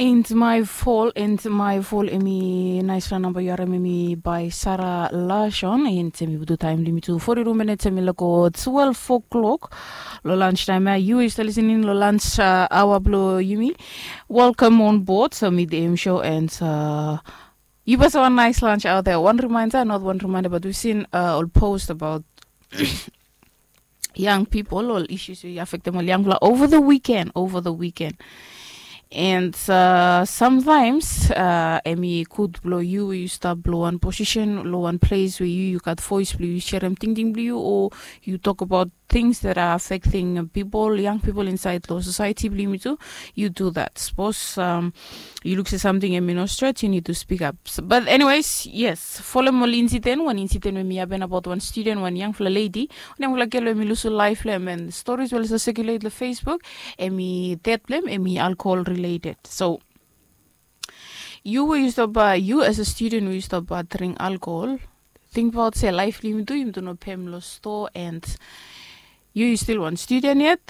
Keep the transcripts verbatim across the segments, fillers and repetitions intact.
And my fall and my fall emi naisfala namba yu harim emi by Sara Lashon, and emi butu taim blong yumi tu forty-two minutes emi lako twelve o'clock lo lunch time ya. Yu is listening lo lunch uh, hour blong yumi. Welcome on board so meet the M show and uh, you best have a nice lunch out there. One reminder, not one reminder, but we've seen uh, all post about young people, ol issues we affectem ol yangfala over the weekend, over the weekend. And uh, sometimes uh, emi gud blo yu we yu stap blo wan position lo wan place we yu yu gat voice blo yu sharem tingting blo yu o yu tok about things that are affecting people, young people inside lo society blo yumi tu. You do that. Suppose um, you look se something emi no stret, you need to speak up. So, but anyways, yes, folem ol incident, wan incident we mi happen about wan student, wan yangfala lady, wan yangfala gel we mi lusu life lo em, and stories we lasa circulate lo Facebook, emi dead blo em emi alcohol related. So you we yu stop uh, you as a student we yu stop uh, drink alcohol, think about se life blo yumi tu, yumi tu no pem lo store, and you you still one student yet.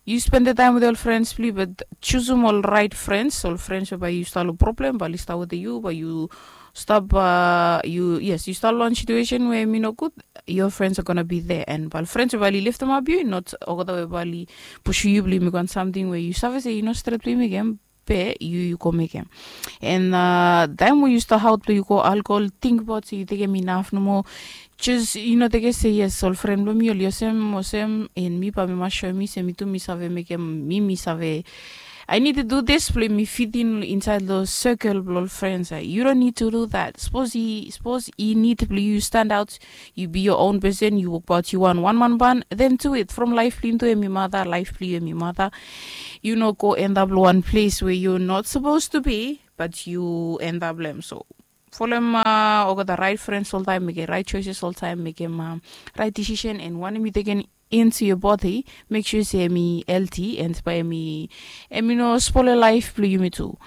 You spend the time with your friends blo yu, but choosem ol right friends, ol friends we bae yu stap lo problem bae oli stap wetem yu, bae yu stap uh, yu yes, yu stap lo wan situation we emi no gud. Your friends are gonna be there, and bae ol friends we bae oli leftemap yu, not olgeta we bae oli pusu yu blo yu mekem wan samting we yu save se yu no stret blo yu mekem, be yu yu go mekem. And uh, taim we yu stap aot blo yu go alcohol, tingbaot se yu tekem inaf nomo. Jus yu no tekem se yes, ol fren blo mi oli olsem olsem, and mi bae mi mas soem mi se mi tu mi save mekem, mi mi save, I need to do this blo mi fit in inside lo circle blo ol friends. Yu don't need to do that. Suppose i suppose i need blo yu stand out, yu be your own person, yu wokbaot yu wan wan man ban, then do it. From life blo yu tu emi mata, life blo yu emi mata. Yu no go end up lo wan place we yu not supposed to be, but yu end up lo em. So folem uh, olgeta right friends oltaim, mekem right choices oltaim, mekem uh, right decision, and wanem yu tekem into your body, make sure se emi healthy and bae emi emi no spole life blo yumi tu.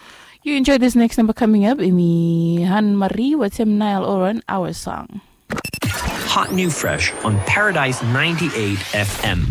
You enjoy this next number coming up, emi Anne Marie wetem Niall Horan, Our Song. Hot new fresh on Paradise ninety-eight F M.